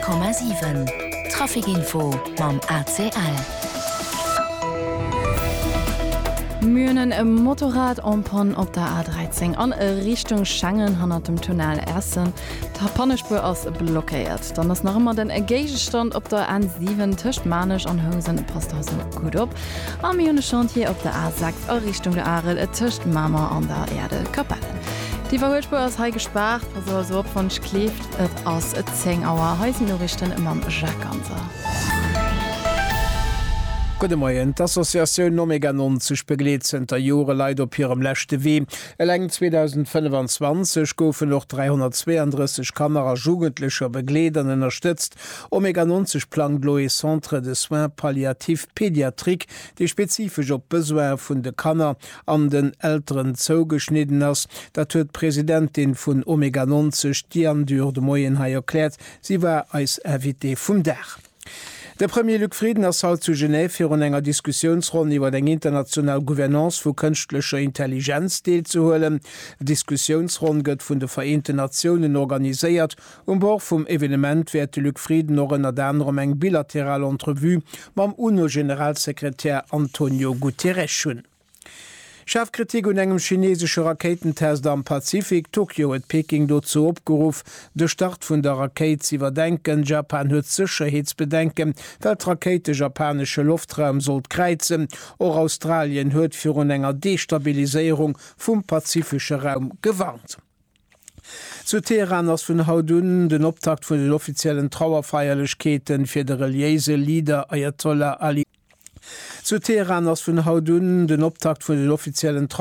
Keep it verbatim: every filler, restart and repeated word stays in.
Honnert Komma siwen Trafic Info mam A C L. Mir hunn e Motorrad en panne op der A dräizéng an Richtung Schengen hannert dem Tunnel Essen. D'Pannespuer ass blockéiert. Dann ass nach ëmmer den Géigestand op der N siwen tëscht Maarnech an Housen, passt also gutt op. A mir hunn e Chantier op der A sechs a Richtung der Arel tëscht Mamer an der Äerdelkapellen. D'Iwwerhuelspuer ass hei gespaart, passt also op wann kleeft. Et ass zéng Auer. Hei sinn d'Noriichten mam Jacques Ganser. Gudde Moien. D'Associatioun Omega nonzeg begleet zënter Jore Leit op hirem leschte Wee. Eleng zweedausendfënnefanzwanzeg goufen och dräihonnertzweeandrësseg Kanner a Jugendlecher begleet an ënnerstëtzt. Omega nonzeg plangt elo ee Centre de soins palliatifs pédiatriques, dee spezifesch op d'Besoine vun de Kanner an den Elteren zougeschnidden ass. Dat huet d'Presidentin vun Omega nonzeg, Diane Dürr, de Moien hei erkläert. Si war eis Invitée vum Dag. De Premier Luc Frieden ass haut zu Genève virun enger Diskussiounsronn iwwer eng international Gouvernance vu kënschtlecher Intelligenz deelzehuelen. D'Diskussiounsronn gëtt vun de Vereenten Natiounen organiséiert. Um Bord vum Evenement wäert de Luc Frieden och ënnert anerem eng bilateral Entrevue mam UNO-Generalsekretär Antonio Guterres hunn. Schaarf Kritik un engem chinesesche Rakéitentest am Pazifik. Tokio huet Peking dozou opgeruff, de Start vun der Rakéit ze iwwerdenken. Japan huet Sécherheetsbedenken, well d'Rakéit de japanesche Loftraum sollt kräizen. Och Australien huet virun enger Destabiliséierung vum pazifesche Raum gewarnt. Zu Teheran ass vun haut un den Optakt vun den offiziellen Trauerfeierlechkeeten fir de reliéise Leader Ayatollah Ali. Zu Teheran ass vun haut un den Optakt vun den offiziellen